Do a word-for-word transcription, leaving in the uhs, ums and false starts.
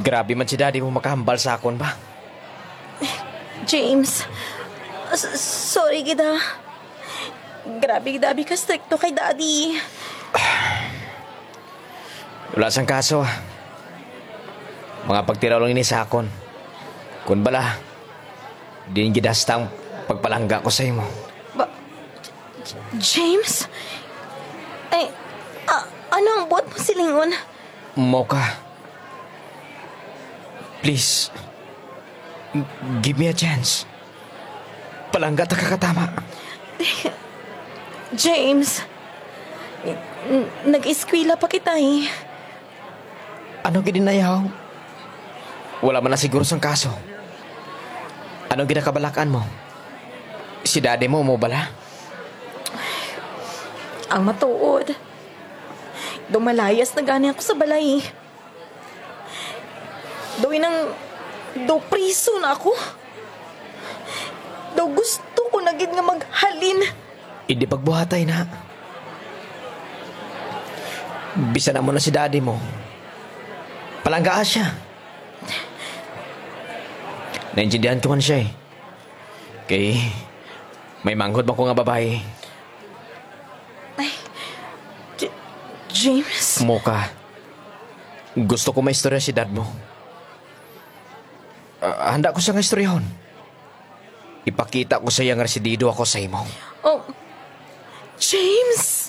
Grabe man si Daddy mo makahambal sa akon ba? James, s- sorry gid ha. Grabe gid abi ka strikto kay Daddy. Wala sang kaso ah. Mga pagtiraw lang ini sa akon. Kun bala, din gid hasta ang pagpalangga ko sa imo. Ba, J- James? Ay, a- ano ang buot mo silingon? Mocha, please, m- give me a chance. Palangga ta ka katama. James, n- nag-eskwela pa kita eh. Ano gid inayaw? Wala man na siguro sang kaso. Ano gid ang kabalak-an mo? Si Daddy mo mo bala? Ang matuod, daw malayas na gani ako sa balay. Daw inang, daw priso na ako. Daw gusto ko na gid nga maghalin. Hindi pagbuhatay na. Bisan amo na si Daddy mo, palanggaa siya. Naintindihan ko man siya eh. Kay may manghod man ko nga babayi. J- James? Mocha, gusto ko maistorya si Dad mo. Ah, handa ko siya nga istoryahon. Ipakita ko sa iya nga residido ako sa imo. Oh, James!